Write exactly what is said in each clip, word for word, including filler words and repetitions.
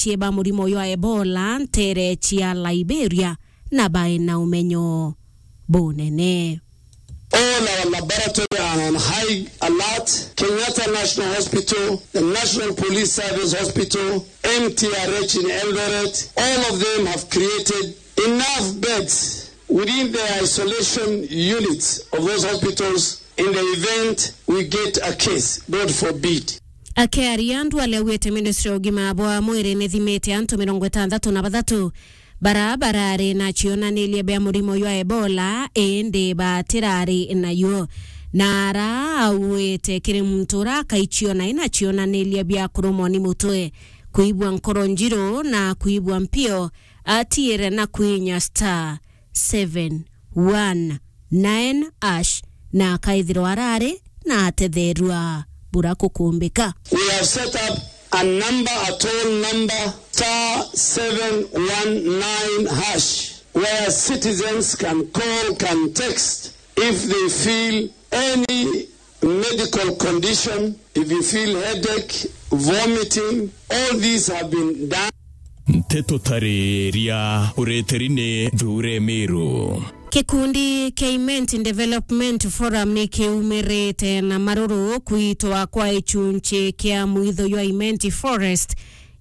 cie ba murimo jwa Ebola ntere cia Liberia na baina umenyo bunene. All our laboratory are on high alert. Kenyatta National Hospital, the National Police Service Hospital, M T R H in Eldoret, all of them have created enough beds within the isolation units of those hospitals in the event we get a case, God forbid. Akiaria, Duale augite ministry ya ugima bwa mwiri nithimite antu mirongo itantatu na bathatu bara barari na cionaniria bia murimo jwa Ebola, indi batirari nayo. Na ara augite kiri muntu ura akaiciona ina cionaniria bia kurumwa ni mutwe, kuigua nkoro njiru na kuigua mpio, atiire na kwinya star seven one nine hash na akaithirwa arari na atetherua bura kukumbika. We have set up a number, a toll number, star seven one nine hash, where citizens can call, can text if they feel any medical condition, if you feel headache, vomiting, all these have been done. Nteto tariria ureteri ni Nthure Miru. Gikundi kia Imenti Development Forum ni kiumirite na maruru kwitwa kwa ichunchi kia mwitho jwa Imenti Forest,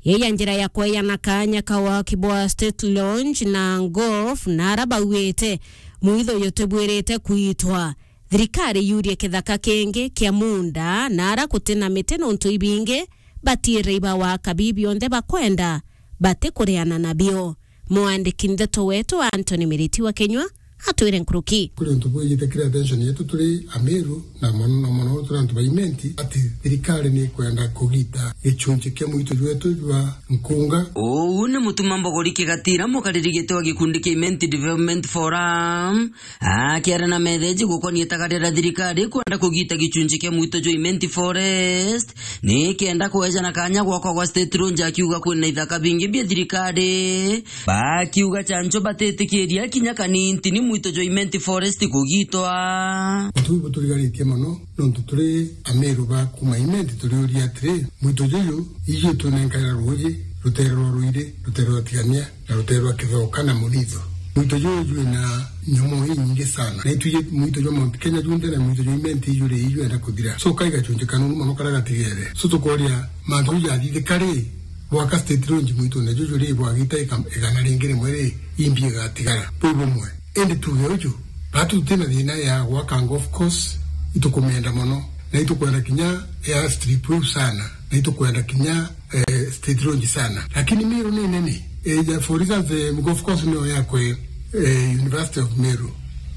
yeya njira ya kweyana kanya ka waki bwa State Launch na Golf, na ara baugite mwitho jutibwirite kwitwa. Thirikari yurie kithaka kingi kia munda, na ara guti na miti nontu ibingi batiire iba waka bi bionthe bakwenda, batikuriana nabio. Mwandiki ndeto wetu Anthony Miriti wa Kinyua atwire nkuruki. Kuri untu bwijite kiri attention yetu turi Amiru na mono na mono turi antu ba Imenti, ati thirikari ni ikwenda kugita gichunchi kia mwitho jwetu jwa Nkunga. Uu ni Mutuma Mbogori Kigatira, mukariri giti wa gikundi kia Imenti Development Forum, akiaria na metheji gukonia itagaria ria thirikari kwenda kugita gichunchi kia mwitho jwa Imenti Forest, ni kenda kwejana kanya gwakwa gwa State Launch, akiuga kwina ithaka bingi bia thirikari. Bakiuga chancho batitikiria kinya kanini ni mwitho jwa Imenti Forest kugitwa. Untu buu buturigaritie mono, nontu turi Amiru ba kuma Imenti turiuria atiri, mwitho juju iju twinenkaira ruuji rutere rwa Ruiri, rutere rwa Tigania, na rutere rwa Kithoka na Munitho. Mwitho juju jwina nyomoo inyingi sana. Na itwiji mwitho jwa Mount Kenya junthe na mwitho jwa Imenti iju ri ijwenda kuthira. So, kai gachunji kanunu mono karia gatigere. So, tukoria mantu jathithika ri, bwaka State Launch mwitune juju ri, bwagita ika-, igana ringi rimwe ri, imbi igatigara. Buu bumwe. Indi tuge uju, batu tutina thina ya gwaka golf course, itukumenda mono. Na itukwenda kinya airstrip iu sana. Na itukwenda kinya eh, State Launch sana. Lakini Meru ni nene. Eh, ja, for instance, eh, golf course niyo yakwe, eh, University of Meru,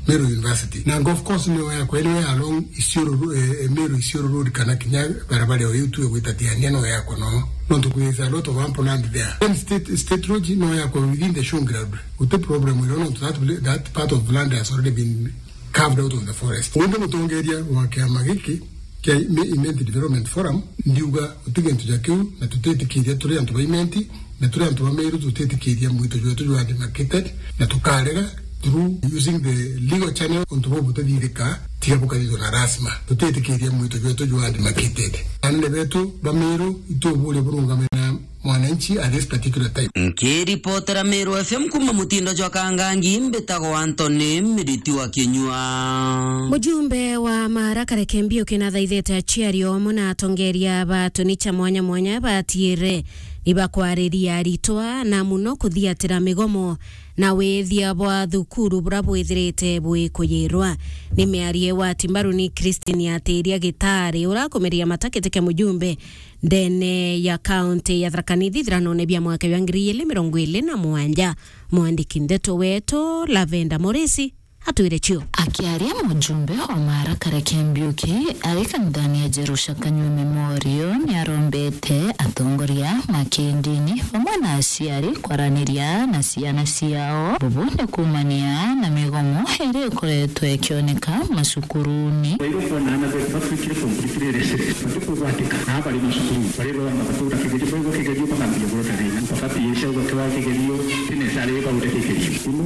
Meru University. Na golf course niyo yakwe, niyo ya along Isiolo Ro-, eh, eh, Meru Isiolo Road kana kinya barabara iyo tu gwita Tigania no yakwe no. Nontu there is a lot of ample land there. Then State, State Launch no yakwe within the showground. Guti problem ino nontu that, that part of land has already been carved out of the forest. Undi mutongeria wa kiama giki kia Ime-, Imenti Development Forum, ndiuga guti gintu ja kiu, na tutitikiria turi antu ba Imenti, na turi antu ba Meru tutitikiria mwito jwetu jwa demarcated, na tukarega through using the legal channel untu buu butithithika, tiga bukathithwa na rasma. Tutitikiria mwito jwetu jwa demarcated. Anene betu ba Meru ituburia burungame na mwananchi at this particular time. Nkiripotera Meru F M kuma mutindo jwa Kangangi, mbitagwa Anthony Miriti wa Kinyua. Mujumbe wa Mara Kareke Mbiuki nathaithite aciari omwe na atongeria ba tuni cha mwanya mwanya batiire ibakwariria aritwa na muno kuthiatira migomo na withia bwa thukuru bura bwithirite bwikuyirwa. Ni miario wa Timbaru ni Christine Atiria Gitari, urakumiria matakitike mujumbe ndene ya kaunti ya Tharaka Nithi ithiranone bia mwaka jwa ngiri igiri mirongo iri na mugwanja. Mwandiki ndeto wetu Lavenda Morisi atwire cio. Akiaria mujumbe wa Mara Kareke Mbiuki ari kanithani ya Jerusha Kanyua Memorial, niarombete atongoria ma kindini bamwe na aciari kwaraniria na ciana ciao. Bubu ni kuumania na migomo iria ikoretwe ikioneka macukuruni. Kwa hivyo, kuona ana betu batwikire completely resilient, batikugwatika na bari macukuru, bari baba bakaura kigerio, bauga kigerio, bakambia kurota thina, mpaka P S au bakiwa kigerio, tene sare bauga kigerio. Ino,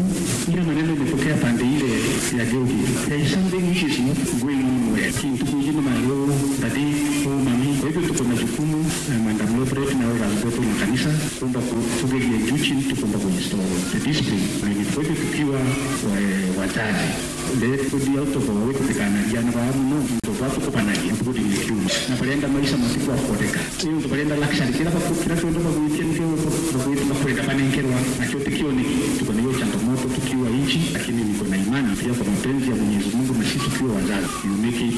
ira maneno imetokea pande ile ya Gilgil. There is something which is not going on well. Kintu kuji ni mayo, daddy, oh, mami. Kwa hivyo, tuko na jukumu, eh, Madam Lopret na watu wetu wa kanisa. Tugerie juu chini, tukomba kuinstall the discipline. Na ni kweli tukiwa, eh, wazazi. Let go out of our way, tutikanaria na baa muno, into baa tukubanagia, including the kiume. Na barenda maisha matiku akwoneka. Into barenda luxury, kira baku-, kira twenda bagwitia nikio bagwita bakwenda banenkerwa. Nakio tikio ni, tuko na hiyo changamoto tukiwa nchi, lakini niko na imani pia kwa mapenzi ya Mwenyezi Mungu na sisi tukiwa wazazi, you make it,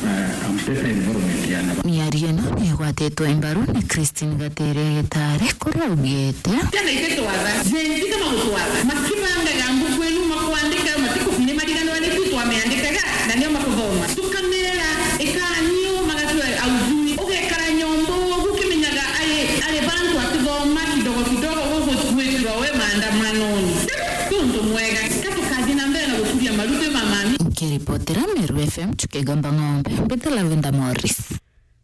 uh, a better environment ya na Miario ino ni igwatitwe mbaru ni Christine Gatere Gitare, kuria augite. Tena ititwatha, Gen Z kama gutwatha, makibangaga mbuku inu makwandika, matiku-, ni mariganirwa ni tu twamiandikaga, na nio makuthoma. Tukamera, ikanio, magatua aujui. Ugekara nyomba ugu ukimenyaga ari, ari bantu atithoma kidogo kidogo, ugu gwithirwa we maandamanoni. Tuntu mwega, ka tukathi na mbere na gukuria maruti ma mami. Nkiripotera Meru F M, Chukegamba Ng'ombe, mbite Lavenda Morris.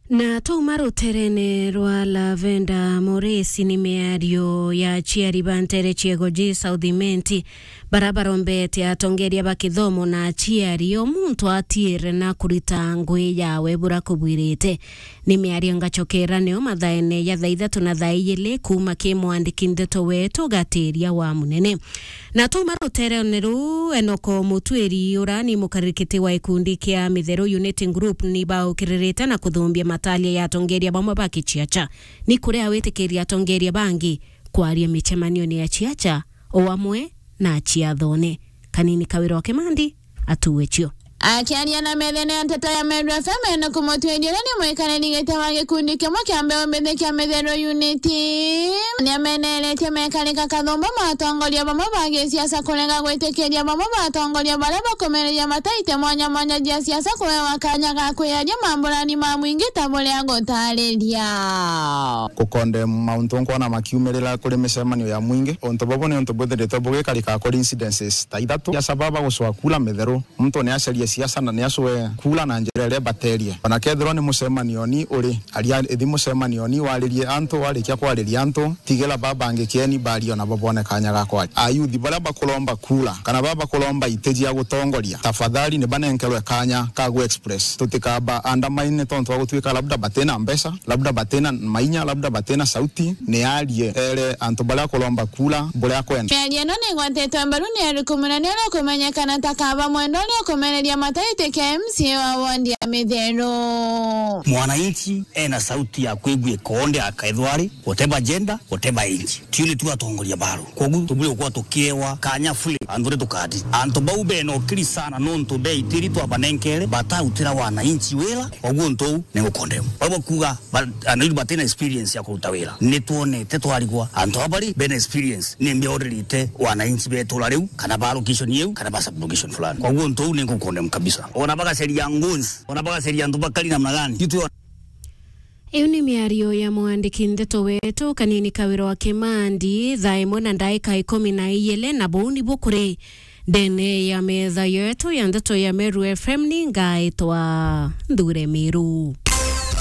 Na twauma ruterene rwa Lavenda Morris, ni miario ya aciari ba ntere ciego ji South Imenti, bara barombete atongeria ba kithomo na aciari o muntu atiire na kurita ngui yawe bura kubwirite. Ni miario ngacokera nio mathaene ya thaa ithatu na thaa ijiri kuuma ki mwandiki ndeto wetu Gatiria wa Munene. Na twauma ruterene ruu, Enoko Mutwiri, ura ni mukarikiti wa ikundi kia Mitheru Unity Group, ni baukiririte na kuthumbia mataria ya atongeria bamwe ba kiciaca. Ni kuria awitikiria atongeria bangi kwaria micemanione ya ciaca, o amwe na ciathone. Kanini Kawira wa Kimandi, atuwe cio. Akiaria na methene ya nteto ya Meru F M, Enoko Mutwiri, uria ni mwikariri giti wa gikundi kimwe kia mbeu mbithi kia Mitheru Unity, ni ameneretie mekarika kathumba ma atongoria bamwe ba gisiasa kurega gwitikiria bamwe ba atongoria baria bakumereria mataite mwanya mwanya jia siasa kuewa kanya ga kwiaria mamburani ma mwingi ta buria gutariria. Gukonde mauntu nkwona makiumirira kuri micemanio ya mwingi, untu bubu ni untu bwithiritwe bugikarika kuri incidences ta ithatu. Siasa baba gucwa kura Mitheru. Muntu ni acarie siasa na ni acwe kura na njira iria ibaterie. Ona kethirwa ni mucemanioni uri, aria, ithi mucemanioni, waririe antu, warikia kwariria antu, tigila baba bangi kieni barie, ona bo bone kanya ga kwaria. Ayuthi baria bakuromba kura, kana baba bakuromba iti cia gutongoria, tafadhali ni banenkerwe kanya ka gu express. Tutikaba undermine tontu wa gutuika labda batina mbeca, labda batina mainya, labda batina sauti, ni arie, ere antu baria akuromba kura buria akwenda. Miario ino ni igwatitwe mbaru ni Eric Munene uria ukumenyekana ta Kaba Mwendwa uria ukumereria mataite kia M C A wa ward ya Mitheru. Mwananchi ena sauti ya kwigua ikoonde akaithwa ari, whatever gender, whatever age. Tio ni tu atongoria baro. Koguo tubwire gukwa tukiewa kanya fully, antu ri tukati. Antu bau bena ukiri sana nontu beitiri twabanenkere, batautira wananchi wira, koguo untu uu ni gukondemu. Bau bakuga, ba-, anairu batina experience ya kuruta wira. Ni twonete twarigwa, antu aba bari bena experience, ni mbeoririte wananchi betura riu, kana ba location iu, kana ba sub location fulani. Koguo untu uu ni gukondemu kabisa. Ona bagaceria goons, ona bagaceria antu bakari namna gani? Itu Iu ni miario ya mwandiki ndeto wetu Kanini Kawira wa Kimandi, thaa imwe na ndaika ikumi na ijiri, na buu nibu kuri ndene ya metha yetu ya ndeto ya Meru F M. Ni ngaitwa Nthure Miru.